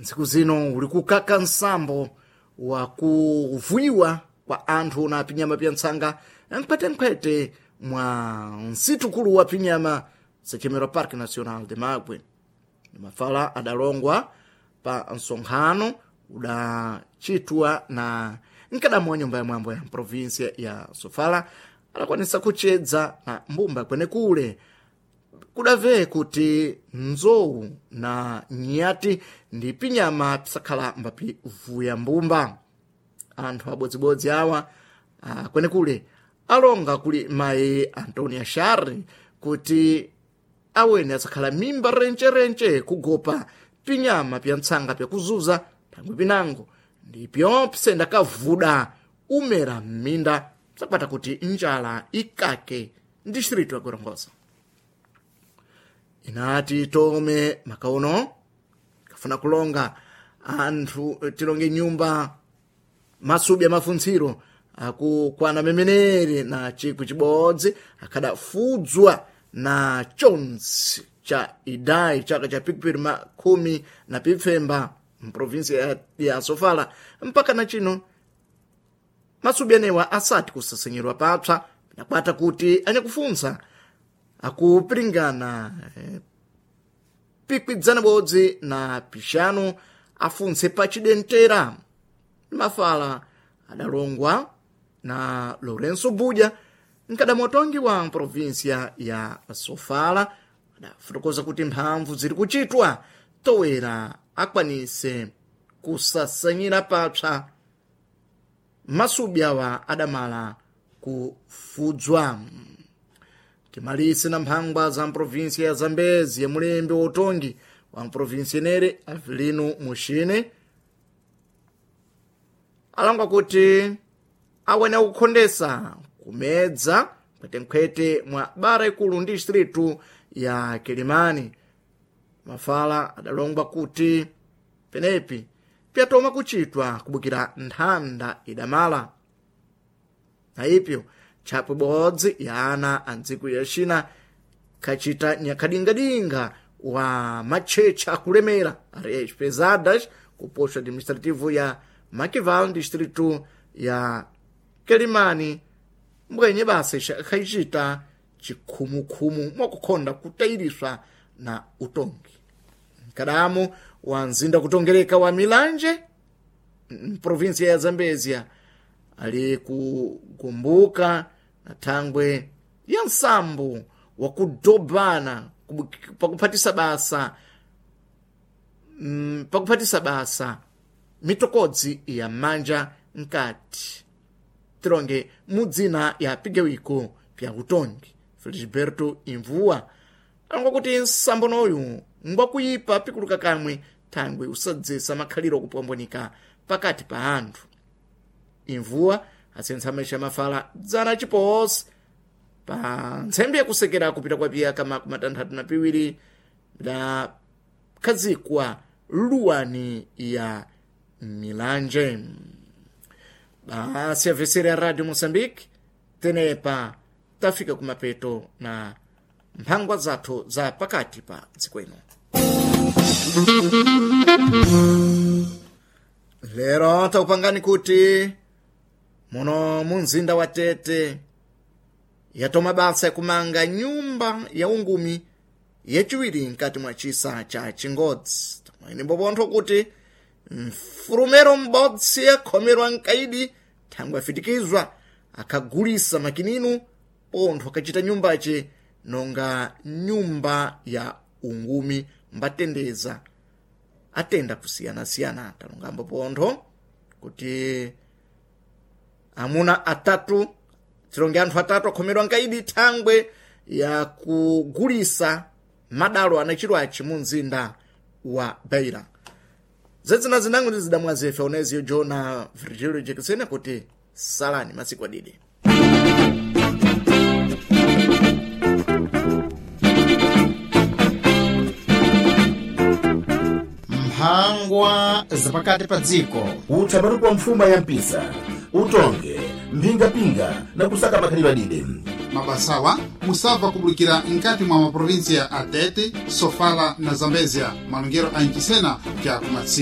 Ntsiku zino uli kukaka nsambo wa kuvuiwa kwa anthu na pinyama pya ntsanga nkhwetenkhwete mwa msitukulu wa pinyama sachemerwa Parque Nacional de Magwe. Mafala adalongwa pa msonkhano udachitwa na mkadamu wa nyumba ya mwambo ya provinsia ya Sofala adakwanisa kuchedza na mbumba kwenekule kudave kuti nzowu na nyati ndi pinyama pisakhala mbapivuya mbumba. Anthu abodzibodzi awa kwenekule alonga kuli mayi Antonia Shari kuti awene asakhala mimba rencherenche kugopa pinyama pya ntsanga pyakuzuza thangwi pinango ndipyo pisenda kavuda umera m'minda sakwata kuti njala ikake distrito ya Gorongosa. Inati tome makaono kafuna kulonga anthu tilonge nyumba masubi amafuntsiro akukwana memenere na chikwi chibodzi akhadafudzwa na chonse cha idai chaka cha pikipiri makhumi na pipfemba mprovinsi ya Sofala mpaka na chino masubi anewa asati kusasenyerwa papsa nakwata kuti anyakufunsa akupiringana pikwidzana bodzi na pixanu afunse pachidentera. Mafala adalongwa na Lourenço Buja mkadamotongi wa provinsia ya Sofala adafotokoza kuti mphamvu ziri kuchitwa towera akwanise kusasanyira papsa masubi awa adamala kufudzwa. Timalise na mphangwa za mprovinsia ya Zambezi ya mulembe wotongi wa mprovinsia enere Avelino Muxine alangwa kuti awene akukhondesa kumedza nkhwetenkhwete mwa bara ikulu ndi distritu ya Kilimani. Mafala adalongwa kuti penepi pyatoma kuchitwa kubukira nthanda idamala na ipyo tchapwe bodzi ya ana a ntsiku ya China khacita nyakhadingadinga wa matchetcha akulemera areias pesadas ku posto administrativo ya Maquival distrito ya Quelimane mbwenye basa ikhacita chikhumukhumu mwakukhonda kutayiriswa na utongi. Mkadamu wa mzinda kutongereka wa Milanje mprovinsia ya Zambezia ali kukumbuka na thangwe ya nsambo wa kudobana pakuphatisa basa pakuphatisa basa mitokodzi ya manja nkati tilonge mudzina ya pigawiko pya utongi. Felisberto Imvua alonga kuti nsambonoyu ngwakuyipa pikuluka kamwe thangwe usadzesa makhaliro kupwambwanika pakati pa anthu. Imvua asentsa maisha mafala dzana chiposi pa ntsembe yakusekera kupita kwa piyaka makumi atanthatu na piwiri bidakhazikwa luwani ya Milanje. Basi avesera ya Radio Moçambique tenepa tafika kumapeto na mphangwa zathu za pakati pa dziko ino. Lero takupangani kuti muno munzinda wa Tete yatoma basa yakumanga nyumba ya ungumi yachiwiri mkati mwa chisa cha Chingodzi. Tamweni mbopontho kuti mfurumero m'bodzi yakhomerwa mkaidi thangwe afitikizwa akhagulisa makininu pontho akachita nyumbace nonga nyumba ya ungumi mbatendeza atenda kusiyanasiyana. Talongambo pontho kuti amuna atatu tilonge anthu atatu akhomerwa nkaidi thangwe ya kugulisa madalo anachirwachi mu mzinda wa Beira. Zedzina zinango ndi zidamwa zefe oneziyo Jona Virgilio Jekesene kuti salani masiku adidi. Mphangwa zapakati pa dziko. Utsamatuku wa mfuma ya mpisa utonge mphingapinga na kusaka makhalidwe adide. Mabasawa musabva kubulikira nkati mwa maprovinsia a Tete, Sofala na Zambezia, malongero a Ncisena kya kumatsi.